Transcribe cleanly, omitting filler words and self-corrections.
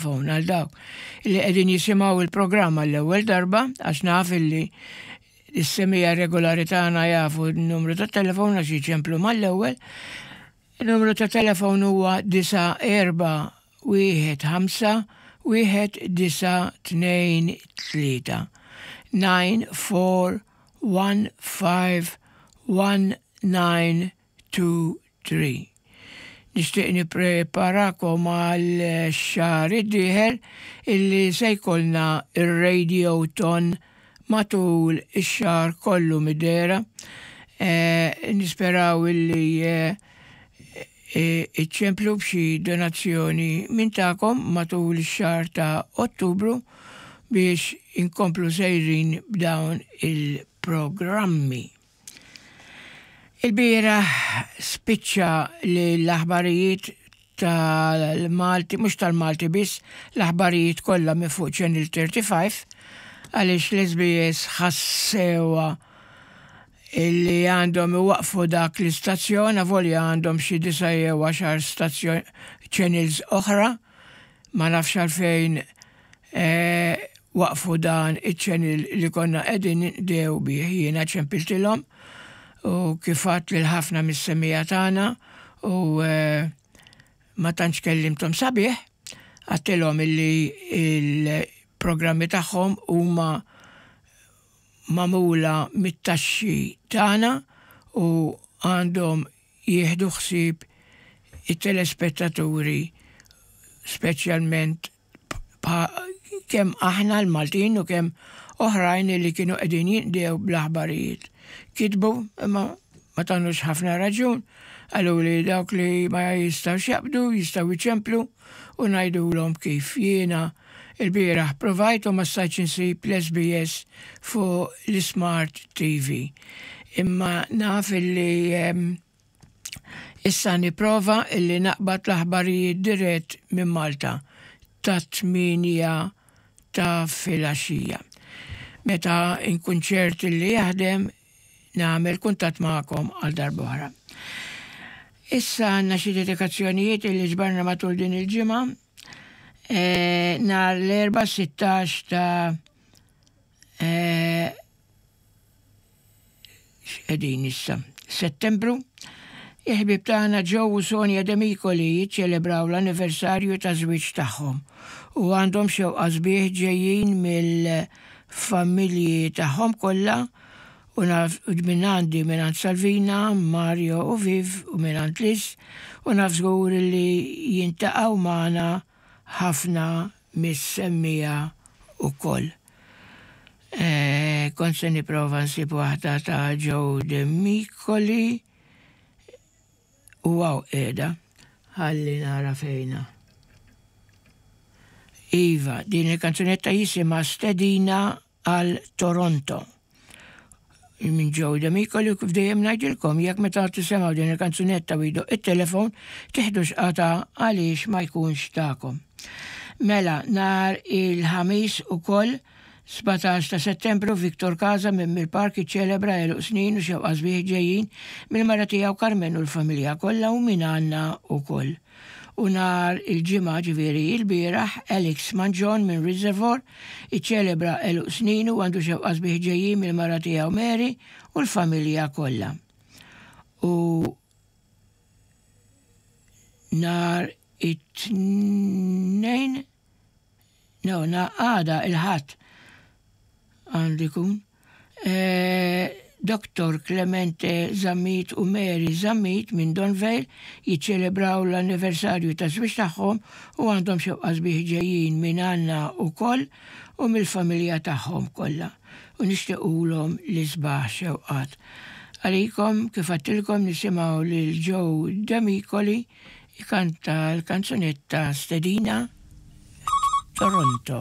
Phone għal dawk li qegħdin jisimgħu il-programm għall-ewwel darba għax naf illi is-semija regolari tagħna jafu n-numru ta' telefon għax jiċemplu mal-ewwel. Il-numru ta' telefon huwa 9 4 1 5 1 9 2 3 9 4 1 5 1 9 2, 3. Nixtieq nippreparakom għal xahar id-dieħel illi se jkollna ir-Radiothon matul ix-xahar kollu mid-dehra. Nisperaw illi iċċemplu b'xi donazzjoni minn tagħkom matul ix-xahar ta' Ottubru biex inkomplu sejrin b'dawn il-programmi. Ilbieraħ spiċċa li l-aħbarijiet tal-Malti, mhux tal-Malti biss, l-aħbarijiet kollha minn fuq Channel 35 għaliex l-SBS ħassewha illi għandhom iwaqqfu dak l-istazzjon avolja għandhom xi disa' jew għaxar stazzjon channels oħra. Ma nafx għalfejn Waqfu dan iċ-channel li konna qegħdin ninqdew bih. Jiena ċempiltilhom u kif għedt lil ħafna mis-semmiegħa tagħna u ma tantx kellimthom sabiħ, għedtilhom illi l-programmi tagħhom huma magħmula mit-taxxi tagħna u għandhom jieħdu ħsieb it-telespettaturi speċjalment kemm aħna l-Maltin u kemm oħrajn li kienu qegħdin jinqdew bl-aħbarijiet. Kitbu imma ma tanux ħafna raġun, qaluli dawk li ma jistgħux jaqbdu jistgħu jċemplu u ngħidulhom kif. Jiena ilbieraħ provajt u ma stajtx insib l-SBS fuq l-ismart TV. Imma naf illi Issa nipprova illi naqbad l-aħbarijiet dirett minn Malta tat-tmienja ta' filgħaxija. Meta nkun ċert illi jaħdem, nagħmel kuntatt magħkom għal darb'oħra. Issa għandna xi dedikazzjonijiet illi ġbarna matul din il-ġimgħa. E, nhar l-Erbgħa 16 ta' e, X'qegħdin issa? Settembru, il-ħbieb tagħna Joe u Sonia Demicoli jiċċelebraw l-anniversarju taż-żwieġ tagħhom u għandhom xewqa sbieħ ġejjin mill-familji tagħhom kollha u naf minn għandi mingħand Salvina, Mario u Viv u mingħand Liz u naf żgur li jintaqgħu magħna ħafna mis-semmiegħa wkoll. Kont se nipprova nsib waħda ta' Joe Demicoli u hawn qiegħda. Ħalli nara fejna. Iva, din il-kanzunetta jisimha Stedina għal Toronto. Minn Joe Demicoli u kif dejjem ngħidilkom jekk meta tisemgħu din il-kanzunetta u jdoqq it-telefon tiħdux qatgħa għaliex ma jkunx tagħkom. Mela, nhar il-Ħamis ukoll 17 ta' Settembru Victor Casa minn Mill-Park iċċelebra għeluq snin u xewqa sbieħ ġejjin mill-mara tiegħu Carmen u l-familja kollha u minn għandna ukoll. U nhar il-Ġimgħa, ġifieri ilbieraħ, Alex Mangion minn Reservoir iċċelebra għeluq sninu u għandu xewqa sbieħ ġejjin mill-mara tiegħu Mary u l-familja kollha. U nhar it-Tnejn, no, għada il-Ħadd għandu jkun, Dottor Clemente Zammit u Mary Zammit minn Donvale jiċċelebraw l-anniversarju taż-żwieġ tagħhom u għandhom xewqa sbieħ ġejjin minn għandna wkoll u mill-familja tagħhom kollha u nixtiequlhom l-isbaħ xewqat. Għalikom, kif għedtilkom nisimgħu lil Joe Demicoli Ikanta l-kanzunetta Stedina Toronto.